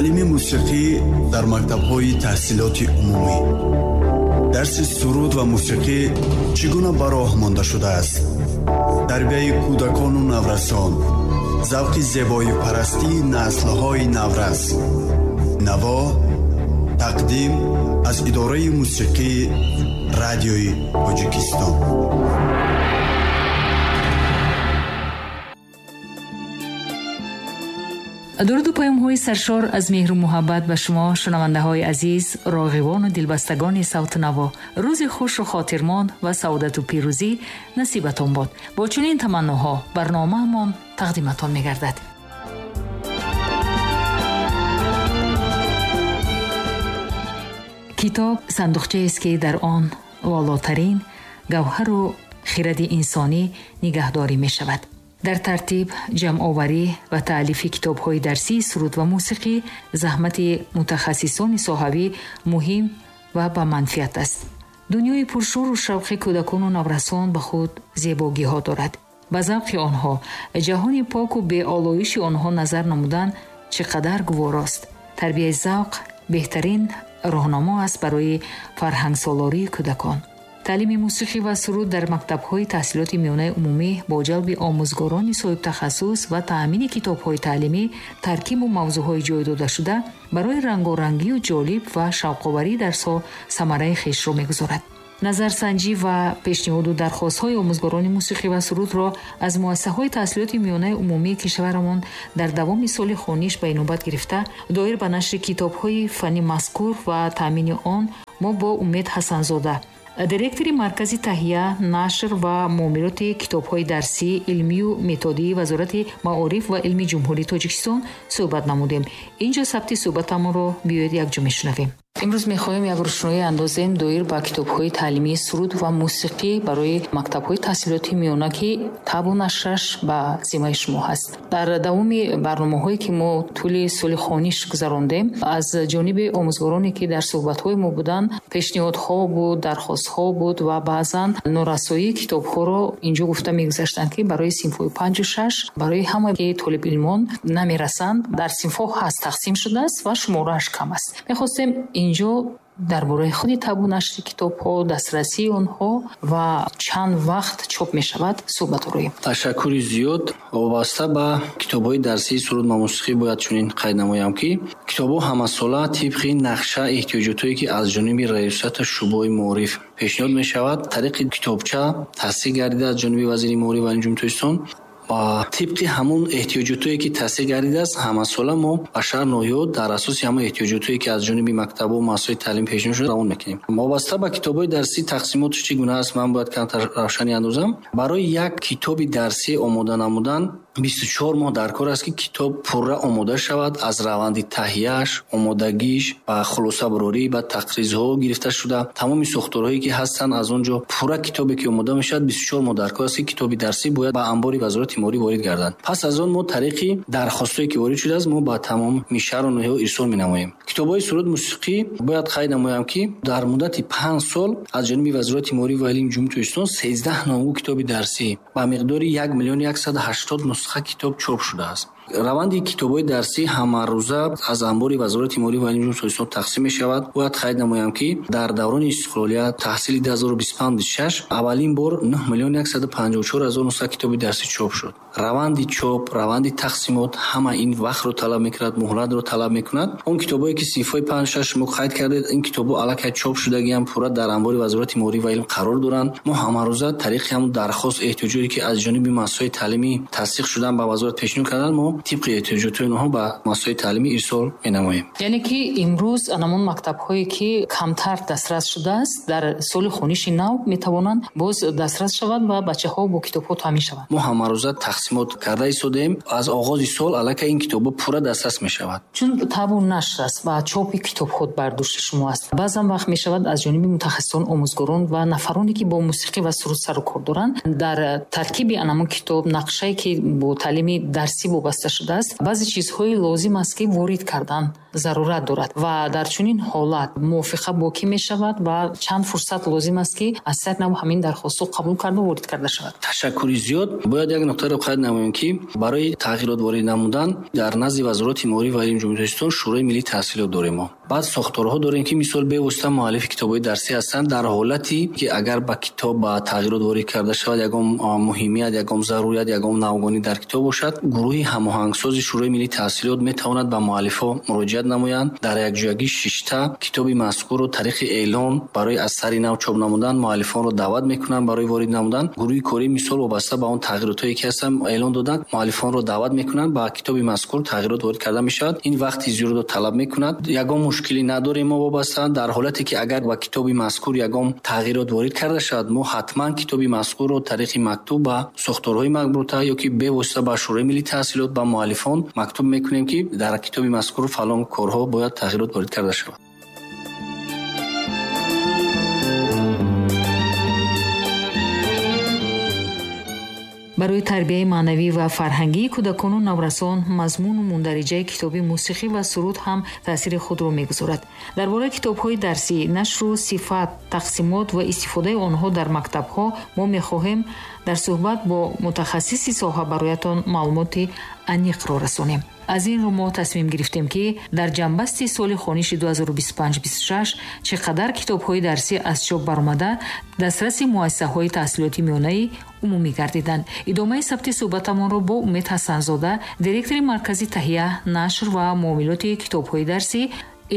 Таълими мусиқӣ дар мактабҳои таҳсилоти умумӣ. Дарси суруд ва мусиқӣ чӣ гуна ба роҳ монда шудааст? Тарбияи кӯдакону наврасон, завқи зебоипарастии наслҳои наврас. Наво тақдим аз идораи мусиқии Радиои Тоҷикистон. Дуруду паёмҳои саршор аз меҳру муҳаббат ба шумо, шунавандаҳои азиз, роғивону дилбастагони савту наво. Рӯзи хушу хотирмон ва саодату пирӯзӣ насибатон бод. Бо чунин таманноҳо барномаамон тақдиматон мегардад. Китоб сандуқчаест, ки дар он волотарин гавҳару хиради инсонӣ нигаҳдорӣ мешавад. Дар тартиб, ҷамъоварӣ ва таълифи китобҳои дарсии суруд ва мусиқӣ заҳмати мутахассисони соҳавӣ муҳим ва ба манфиат аст. Дунёи пуршӯру шавқи кӯдакону наврасон ба худ зебогиҳо дорад. Ба завқи онҳо, ҷаҳони поку беолоиши онҳо назар намудан чӣ қадар гуворост. Тарбияи завқ беҳтарин роҳнамо аст барои фарҳангсолории кӯдакон. Таълими мусиқӣ ва суруд дар мактабҳои таҳсилоти миёнаи умумӣ бо ҷалби омӯзгорони соҳибтахассус ва таъмини китобҳои таълимӣ, таркибу мавзӯъҳои ҷой додашуда барои рангорангию ҷолиб ва шавқоварии дарсҳо самараи хешро мегузорад. Назарсанҷӣ ва пешниҳоду дархостҳои омӯзгорони мусиқӣ ва сурудро аз муассисаҳои таҳсилоти миёнаи умумии кишварамон дар давоми соли хониш ба инобат гирифта, доир ба нашри китобҳои фанни мазкур ва таъмини он мо бо Умед Ҳасанзода, директори Маркази таҳия, нашр ва муомилоти китобҳои дарсӣ, илмию методии Вазорати маориф ва илми Ҷумҳурии Тоҷикистон суҳбат намудем. Инҷо сабти суҳбатамонро биёед якҷо мешунавем. Имрӯз мехоҳем як рӯшноӣ андозем доир ба китобҳои таълимии суруд ва мусиқӣ барои мактабҳои таҳсилоти миёна, ки табу нашраш ба зиммаи шумо ҳаст. Дар давоми барномаҳое, ки мо тӯли соли хониш гузарондем, аз ҷониби омӯзгороне, ки дар суҳбатҳои мо буданд, пешниҳодҳо буд, дархостҳо буд ва баъзан норасоии китобҳоро инҷо гуфта мегузаштанд, ки барои синфҳои панҷу шаш, барои ҳамаи толибилмон намерасанд. Дар синфҳо ҳаст, тақсим шудааст ва шуморааш кам аст. Мехостем инҷо дар бораи худи табу нашри китобҳо, дастрасии онҳо ва чанд вақт чоп мешавад суҳбат ороем. Ташаккури зиёд. Вобаста ба китобҳои дарсии суруд ва мусиқӣ бояд чунин қайд намоям, ки китобҳо ҳамасола тибқи нақша эҳтиёҷотое, ки аз ҷониби раёсату шӯъбаи маориф пешниҳод мешавад, тариқи китобча тасдиқ гардида аз ҷониби вазири маориф ва илми Ҷумҳурии Тоҷикистон ва тибқи ҳамун эҳтиёҷотое, ки тасдиқ гардидааст, ҳамасола мо ба шаҳр ноҳиёт дар асоси ҳамон эҳтиёҷотое, ки аз ҷониби мактабҳо ва муассисаҳои таълим пешниҳод шуда, равон мекунем. Вобаста ба китобҳои дарсӣ тақсимотш чӣ гуна аст, ман бояд камтар равшанӣ андозам. Барои як китоби дарсӣ омода намудан 24 моҳ дар кор аст, ки китоб пурра омода шавад, аз раванди таҳияш, омодагиш ба хулосабарорӣ, ба тақризҳо гирифта шуда, тамоми сохторҳое, ки ҳастанд, аз он ҷо пурра китобе, ки омода мешавад, 24 моҳ дар кор аст, ки китоби дарсӣ бояд ба анбори Вазорати маориф ворид гардад. Пас аз он мо тариқи дархостҳое, ки ворид шудааст, мо ба тамоми шаҳру ноҳияҳо ирсол менамоем. Китобҳои суруд мусиқӣ бояд қайд намоям, ки дар муддати 5 сол аз ҷониби Вазорати маориф ва илми Ҷумҳурии Тоҷикистон 13 номгӯ китоби дарсӣ ба миқдори 1 180 000 нусха китоб чоп шудааст. Раванди китобҳои дарсӣ ҳамарӯза аз анбори Вазорати маориф ва илми Ҷумҳурии Тоҷикистон тақсим мешавад. Бояд қайд намоям, ки дар даврони истиқлолият таҳсили 2025-26 аввалин бор 9 154 000 нусха китоби дарсӣ чоп шуд. Раванди чоп, раванди тақсимот ҳама ин вақтро талаб мекунад, муҳлатро талаб мекунад. Он китобҳое, ки синфҳои панҷ шаш шумо қайд кардед, ин китобҳо аллакай чоп шудагиам, пурра дар анбори Вазорати маориф ва илм қарор доранд. Мо ҳамарӯза тариқи ҳамун дархост эҳтиёҷоте, ки аз ҷониби муассисаҳои таълимӣ тасдиқ шудан ба вазорат пешниҳод карданд, мо тибқи эҳтиёҷотҳои онҳо ба муассисаҳои таълимӣ ирсол менамоем. Яъне ки имрӯз анамон мактабҳое, ки камтар дастрас шудааст, дар соли хониши нав метавонанд боз дастрас шаванд ва бачаҳо бо китобҳо таъмин шаванд. Мо ҳамарӯза тақсимот карда истодаем. Аз оғози сол аллакай ин китобҳо пурра дастрас мешавад. Чун табу нашр аст ва чопи китобҳо бар дӯши шумо аст, баъзан вақт мешавад аз ҷониби мутахассисон, омӯзгорон ва нафароне, ки бо мусиқӣ ва суруд сару кор доранд, дар таркиби анамон китоб нақшае, ки бо таълими дарсӣ вобаста шудааст, баъзе чизҳои лозим аст, ки ворид кардан зарурат дорад ва дар чунин ҳолат мувофиқа бо кӣ мешавад ва чанд фурсат лозим аст, ки аз сар нав ҳамин дархостҳо қабул карда ворид карда шавад? Ташаккури зиёд. Бояд як нуқтаро қайд намоем, ки барои тағйирот ворид намудан дар назди Вазорати маориф ва илми Ҷумҳурии Тоҷикистон Шӯрои миллии таҳсилот дорем мо. Баъд сохторҳо дорем, ки мисол бевосита муаллифи китобҳои дарсӣ ҳастанд. Дар ҳолате ки агар ба китоб ба тағйирот ворид карда шавад, ягон муҳимият, ягон зарурият, ягон навгонӣ дар китоб бошад, гурӯҳи ҳамоҳангсози Шӯрои миллии таҳсилот метавонад ба муаллифҳо муроҷиат намоянд. Дар якҷоягӣ шишта китоби мазкурро тариқи эълон барои аз сари нав чоп намудан муаллифонро даъват мекунанд барои ворид намудан. Гурӯҳи корӣ мисол вобаста ба он тағйиротҳое ки ҳастанд эълон доданд, муаллифонро даъват мекунанд, ба китоби мазкур тағйирот ворид карда мешавад. Ин вақти зиёдро талаб мекунад. Ягон мушкилӣ надорем мо вобаста. Дар ҳолате ки агар ба китоби мазкур ягон тағйирот ворид карда шавад, мо ҳатман китоби мазкурро тариқи мактуб ба сохторҳои марбута ё ки бевосита ба Шӯрои миллии таҳсилот ба муаллифон мактуб мекунем, ки дар китоби мазкур фалон корҳо бояд тағйирот ворид карда шавад. Барои тарбияи маънавӣ ва фарҳангии кӯдакону наврасон мазмуну мундариҷаи китоби мусиқӣ ва суруд ҳам таъсири худро мегузорад. Дар бораи китобҳои дарсӣ, нашру сифат, тақсимот ва истифодаи онҳо дар мактабҳо мо мехоҳем дар суҳбат бо мутахассиси соҳа бароятон маълумоти аниқро расонем. Аз ин рӯ мо тасмим гирифтем, ки дар ҷамъбасти соли хониши 2025-26 чӣ қадар китобҳои дарсӣ аз чоп баромада дастраси муассисаҳои таҳсилоти миёнаи умумӣ гардиданд. Идомаи сабти суҳбатамонро бо Умед Ҳасанзода, директори Маркази таҳия, нашр ва муомилоти китобҳои дарсӣ,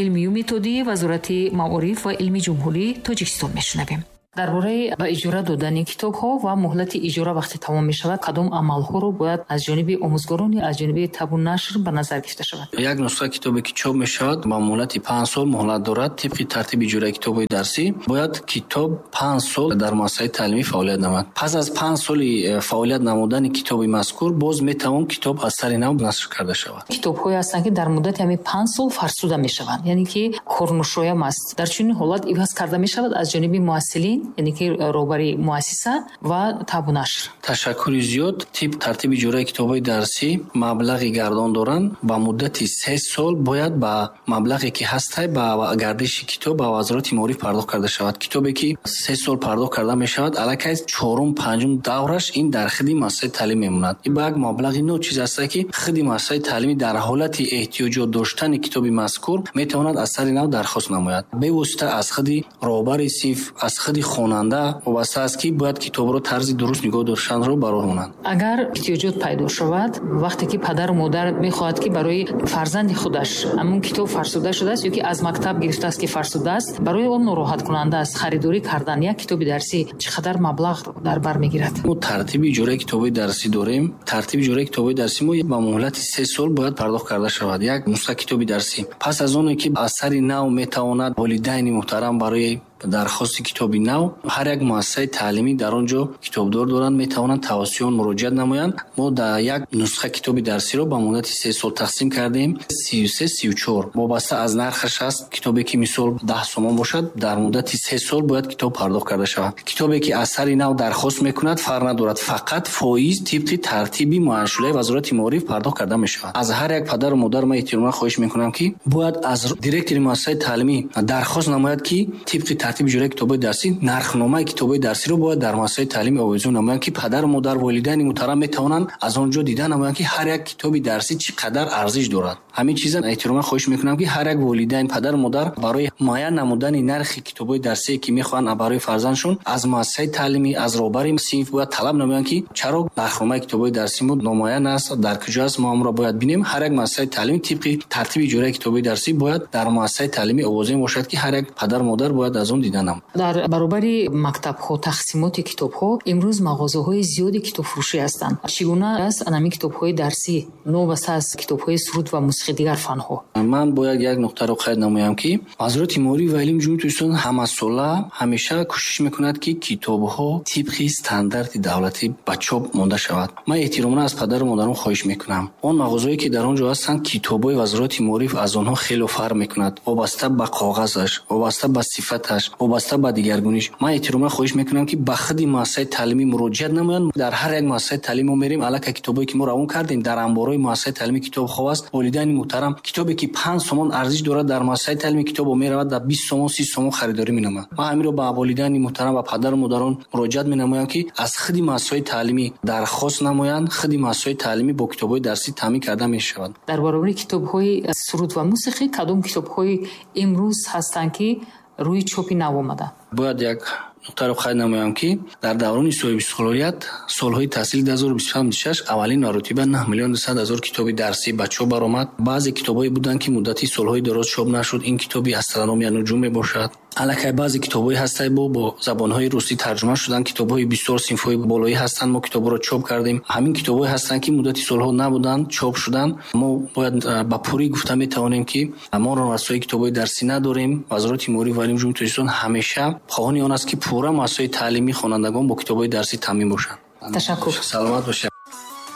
илмию методии Вазорати маориф ва илми Ҷумҳурии Тоҷикистон мешунавем. Дар бораи ба иҷора додани китобҳо ва муҳлати иҷора вақте тамом мешавад, кадом амалҳоро бояд аз ҷониби омӯзгорон, аз ҷониби табу нашр ба назар гирифта шавад? Як нусха китобе ки чоп мешавад ба муҳлати 5 сол муҳлат дорад. Тибқи тартиби иҷораи китобҳои дарсӣ бояд китоб 5 сол дар муассисаи таълимӣ фаъолият намояд. Пас аз 5 соли фаъолият намудани китоби мазкур боз метавон китоб аз сари нав нашр карда шавад. Китобҳое ҳастанд, ки дар муддати ҳамин 5 сол фарсуда мешаванд, яъне ки корнушоям аст. Дар чунин ҳолат иваз карда мешавад аз ҷониби муассилин, яъне ки роҳбари муассиса ва табу нашр. Ташаккури зиёд. Тиб тартиби иҷораи китобҳои дарсӣ маблағи гардон доранд. Ба муддати 3 сол бояд ба маблағе ки ҳастай ба гардиши китоб ба Вазорати маориф пардохт карда шавад. Китобе ки 3 сол пардохт карда мешавад, аллакай 4-5 давраш ин дар худи муассисаи таълим мемонад. Ин ба як маблағи ночиз аст, ки худи муассисаи таълимӣ дар ҳолати эҳтиёҷот доштани китоби мазкур метавонад аз сари нав дархост намояд. Бевосита аз худи роҳбари синф, аз худи хонанда вобаста аст, ки бояд китобро тарзи дуруст нигоҳ доштанро ба роҳ монанд. Агар эҳтиёҷот пайдо шавад, вақте ки падару модар мехоҳад, ки барои фарзанди худаш ҳамон китоб фарсуда шудааст ё ки аз мактаб гирифтааст, ки фарсуда аст, барои он нороҳаткунанда аст харидорӣ кардан як китоби дарсӣ чӣ қадар маблағ дар бар мегирад? Мо тартиби иҷораи китобҳои дарсӣ дорем. Тартиби иҷораи китобҳои дарсӣ мо ба муҳлати 3 сол бояд пардохт карда шавад як нусха китоби дарсӣ. Пас аз оне ки аз сари нав метавонад волидайни муҳтарам барои дархости китоби нав ҳар як муассисаи таълимӣ дар он ҷо китобдор доранд, метавонанд тавассути он муроҷиат намоянд. Мо дар як нусха китоби дарсиро ба муддати 3 сол тақсим кардем, 33-34 вобаста аз нархаш аст. Китобе ки мисол 10 сомон бошад, дар муддати 3 сол бояд китоб пардохт карда шавад. Китобе ки аз сари нав дархост мекунад, фарқ надорад, фақат фоиз тибқи тартиби муайяншудаи Вазорати маориф пардохт карда мешавад. Аз ҳар як падару модар ман эҳтиромона хоҳиш мекунам, ки бояд аз директори муассисаи таълимӣ дархост намояд, ки тибқи тартиби иҷораи китобҳои дарсӣ нархномаи китобҳои дарсиро бояд дар муассисаи таълимӣ овезон намоянд, ки падару модар, волидайни муҳтарам метавонанд аз он ҷо дида намоянд, ки ҳар як китоби дарсӣ чӣ қадар арзиш дорад. Ҳамин чиза эҳтироман хоҳиш мекунам, ки ҳар як волидайн, падару модар барои муайян намудани нархи китобҳои дарсие, ки мехоҳанд барои фарзандшон, аз муассисаи таълимӣ, аз роҳбари синф бояд талаб намоянд, ки чаро нархномаи китобҳои дарсӣ мо номуайян аст, дар куҷо аст, мо ҳамонро бояд бинем. Ҳар як муассисаи таълимӣ тибқи тартиби иҷораи китобҳои дарсӣ бояд дар муассисаи таълимӣ овозем бошад, ки ҳар як падару модар бояд аз он дида намояд. Дар баробари мактабҳо, тақсимоти китобҳо имрӯз мағозаҳои зиёди китобфурӯшӣ ҳастанд. Чӣ гуна аст анами китобҳои дарсӣ новобаста аз китобҳои суруд ва мусиқӣ дигар фанҳо? Ман бояд як нуқтаро қайд намоям, ки Вазорати маориф ва илми Ҷумҳурии Тоҷикистон ҳамасола ҳамеша кӯшиш мекунад, ки китобҳо тибқи стандарти давлатӣ ба чоп монда шавад. Ман эҳтиромона аз падару модарон хоҳиш мекунам, он мағозаҳое ки дар он ҷо ҳастанд, китобҳои Вазорати маориф аз онҳо хеле фарқ мекунад, вобаста ба коғазаш, вобаста ба сифаташ, шуданаш, вобаста ба дигаргуниш, ман эҳтироман хоҳиш мекунам, ки ба худи муассисаи таълимӣ муроҷиат намоянд. Дар ҳар як муассисаи таълим мо мерем, аллакай китобое ки мо равон кардем, дар анборҳои муассисаи таълимӣ китоб хоб аст. Волидайни муҳтарам, китобе ки 5 сомон арзиш дорад, дар муассисаи таълимӣ китобо меравад, дар 20 сомон, 30 сомон харидорӣ менамояд. Ман ҳаминро ба волидайни муҳтарам ва падару модарон муроҷиат менамоям, ки аз худи муассисаҳои таълимӣ дархост намоянд. Худи муассисаҳои таълимӣ бо китобҳои дарсӣ таъмин карда мешавад. Дар баробари китобҳои суруд ва мусиқӣ, кадом китобҳои имрӯз ҳастанд, ки рӯи чопи нав омада? Бояд як нуқтаро қайд намоям, ки дар даврони соҳибистиқлолият, солҳои таҳсили 2025-26, аввалин маротиба 9 200 000 китоби дарсӣ ба чоп баромад. Баъзе китобҳое буданд, ки муддати солҳои дароз чоп нашуд. Ин китоби астрономия, нуҷум мебошад. Аллакай баъзе китобҳое ҳастанд, бо забонҳои русӣ тарҷума шуданд. Китобҳои бисёр синфҳои болоӣ ҳастанд, мо китобҳоро чоп кардем. Ҳамин китобҳое ҳастанд, ки муддати солҳо набуданд, чоп шуданд. Мо бояд ба пуррӣ гуфта метавонем, ки мо норасоии китобҳои дарсӣ надорем. Вазорати маориф ва илми Ҷумҳурии Тоҷикистон ҳамеша хоҳони он аст, ки пурра муассисаҳои таълимӣ, хонандагон бо китобҳои дарсӣ таъмин бошанд. Ташаккур. Саломат бошед.